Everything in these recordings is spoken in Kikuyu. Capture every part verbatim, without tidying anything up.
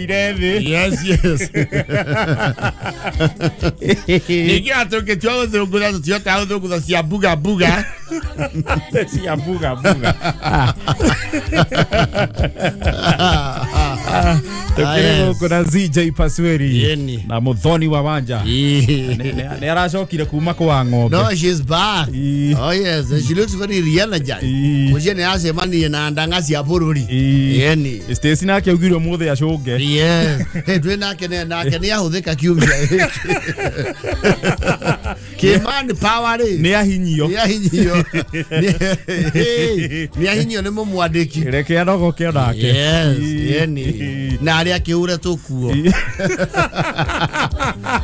Yes, yes. Ningĩ atũngĩtua gũthũngũtha tũtihotaga gũthũngũtha cia buga buga. Cia buga buga. Tukire gũkũ na Z J Pasweri na Muthoni wa Wanja. Nĩ aracokire kuma kwa ng'ombe. No, she's back. Oh yes, she looks very energized. Mũciĩ nĩ acemanirie na ndanga cia bũrũri. Yeni. Stacy nake augire ũmũthĩ acũnge. Yes. Hey, twĩ nake nĩ nake nĩ ahũthĩka kiumia gĩkĩ. Kĩman power rĩ. Nĩ ahinyio. Nĩ ahinyio. Nĩ ahinyio nĩ mũmwandĩki. Reke anogoke onake. Yes, yeni. Na arĩa akĩhure tũkuo.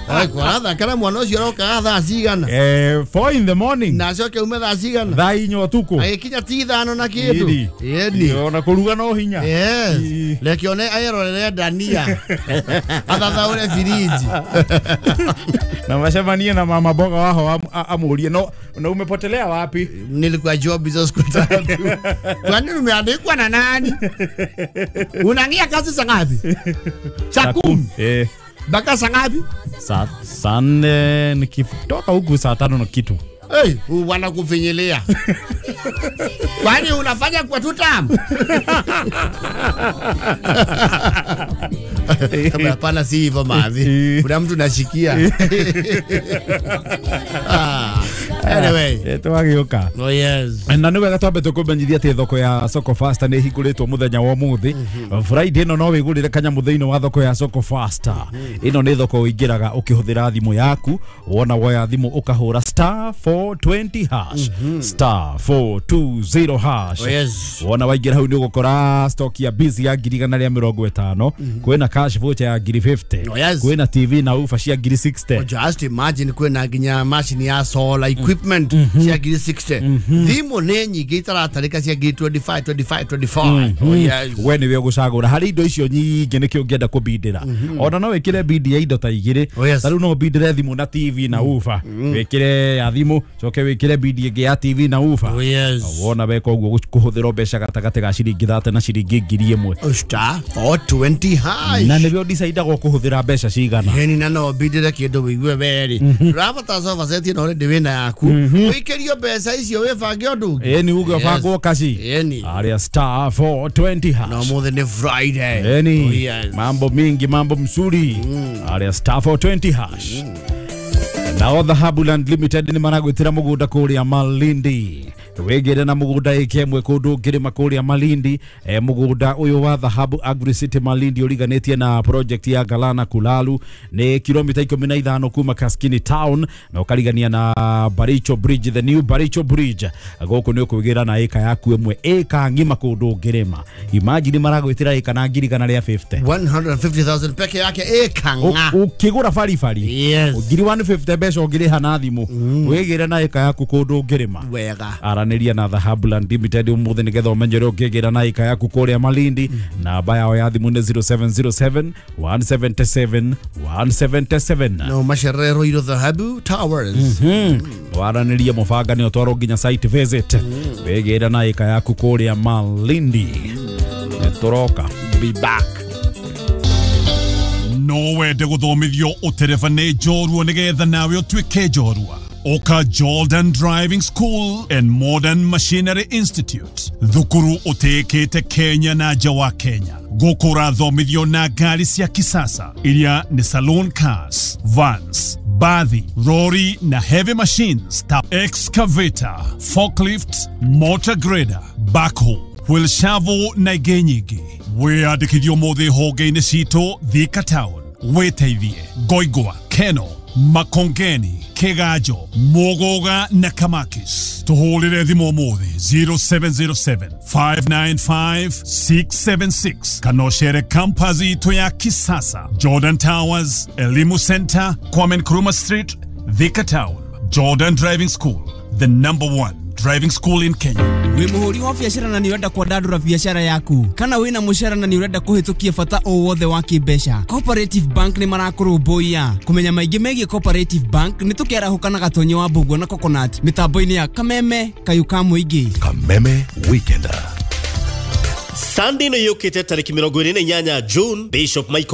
Oi, kwaratha kana mwana ũcio arokaga thaa cigana? Eh, four in the morning. Na acoke ume thaa cigana? Thaa inya ũtukũ. Agĩkinya ti ithano na kĩndũ. Yeni. Ona kũruga no hinya. Yes. Reke one aerorere ndania. Athathaũre firiji. Na macemanie na mama boga waho amũrie no na umepotelea wapi? Nilikuwa job hizo siku tatu. Kwani umeandikwa na nani? Unaingia kazi saa ngapi? Saa kumi. Eh. Mpaka saa ngapi? Saa saa nne nikitoka huku saa tano na kitu. Hey, wanakufinyilia. Kwani unafanya kwa tutam? Kama hapana si hivyo mavi. Kuna mtu nashikia. Ah, anyway. Eh, twagĩũka. Oh yes. Na nĩ wega twambe tũkũmenyithia atĩ thoko ya Soko Faster nĩ ĩhingũrĩtwo mũthenya wa ũmũthĩ. Friday ĩno no wĩgũrĩre kanyamũ thĩinĩ wa thoko ya Soko Faster. Ĩno nĩ thoko ũingĩraga ũkĩhũthĩra thimũ yaku, wona woya thimũ ũkahũra star four twenty hash, star four two zero hash. Oh yes. Wona waingĩra hau nĩ ũgũkora stock ya busy ya ngiri igana rĩa mĩrongo ĩtano, kwĩna cash voucher ya ngiri fifty, Oh yes. kwĩna T V na woofer cia ngiri sixty. Oh, just imagine kwĩna nginya machine ya solar equipment cia ngiri sixty. Thimũ nĩ nyingĩ itaratarĩka cia ngiri twenty-five, twenty-five, twenty-four. Oh yes. We nĩwe ũgũcagũra harĩ indo icio nyingĩ nĩkĩo ũngĩenda kũbindĩra. Ona no wĩkĩre bindi ya indo ta igĩrĩ. Oh yes. Ta rĩu no ũbindĩre thimũ na T V na woofer. Wĩkĩre ya thimũ coke wĩkĩre bindi ĩngĩ ya T V na woofer. Oh yes. Wona weka ũguo kũhũthĩra mbeca gatagatĩ ga ciringi thate na ciringi ngiri ĩmwe. Star four twenty hash. Na nĩwe ũdecidaga ũkũhũthĩra mbeca cigana. Yeni na no bindĩre kĩndũ wĩigue werĩ. Ũrabatara sofa set ĩno already wĩna yaku. Wĩikĩrio mbeca icio wĩbange ũndũ ũngĩ. Ĩni uge ũbangwo kaci. Yeni. Aria star four twenty hash. Na ũmũthĩ nĩ Friday. Eni. Oh yes. Mambo mingi, mambo mzuri. Aria star four twenty hash. Nao Dhahabu Land Limited nĩ maragwĩtĩra mũgũnda kũrĩa Malindi. Wĩgĩre na mũgũnda ĩka ĩmwe kũndũ ũngĩrĩma kũrĩa Malindi. E, mũgũnda ũyũ wa Dhahabu Agri City Malindi ũriganĩtie na project ya Galana Kulalu nĩ kilomita ikũmi na ithano kuma Kaskini Town na ũkarigania na Baricho Bridge, the new Baricho Bridge. Gũkũ nĩ ũkwĩgĩra na ĩka yaku ĩmwe ĩka ng'ima kũndũ ũngĩrĩma. Imagine maragwĩtĩra ĩka na ngiri igana rĩa fifty. one hundred fifty thousand peke yake ĩka ng'a. Ũkĩgũra baribari. Yes. Ngiri one fifty mbeca ũngĩrĩha na thimũ. Wĩgĩre na ĩka yaku kũndũ ũngĩrĩma. Wega. Aranĩria na Dhahabu Land Limited ũmũthĩ nĩgetha ũmenye ũrĩa ũngĩgĩra na ĩka yaku kũrĩa Malindi. Namba yao ya thimũ nĩ zero seven zero seven, one seven seven, one seven seven. No macerero iro Dhahabu Towers. Waranĩria mũbanga nĩ ũtwarwo nginya site visit. Wĩgĩre na ĩka yaku kũrĩa Malindi. Nĩtũroka. Be back. No wende gũthomithio ũtereba nĩ njorua nĩgetha nawe ũtuĩke njorua. Oka Jordan Driving School and Modern Machinery Institute. Thukuru ũtĩĩkĩte Kenya na nja wa Kenya. Gũkũ ũrathomithio na ngari cia kisasa iria nĩ saloon cars, vans, bathi, lorry na heavy machines ta excavator, forklift, motor grader, backhoe, wheel shovel na ingĩ nyingĩ. Wĩyandĩkithie ũmũthĩ honge-inĩ citũ Thika Town, Wĩteithie, Ngoingwa, Keno, Makongeni, Kigajo, Mugoga na Kamakis. Tuhũrĩre thimũ ũmũthĩ zero seven zero seven, five nine five, six seven six kana ũcere campus itũ ya kisasa Jordan Towers, Elimu Center, Kwame Nkrumah Street, Thika Town. Jordan Driving School, the number one driving school in Kenya. Wĩ mũhũri wa biacara na nĩ ũrenda kwandandũra biacara yaku kana wĩna mũcara na nĩ ũrenda kũhĩtũkia bata o wothe wa kĩmbeca, Cooperative Bank nĩ marakũrũmbũiya. Kũmenya maingĩ megiĩ Cooperative Bank nĩ tũkĩarahũka na Gatonyi wa Mbũguo na Coconut mĩtambo-inĩ ya Kameme Kayũ ka Mũingĩ. Kameme Weekender. Sunday ĩno yũkĩte tarĩki mĩrongo ĩrĩ na inyanya June, Bishop Michael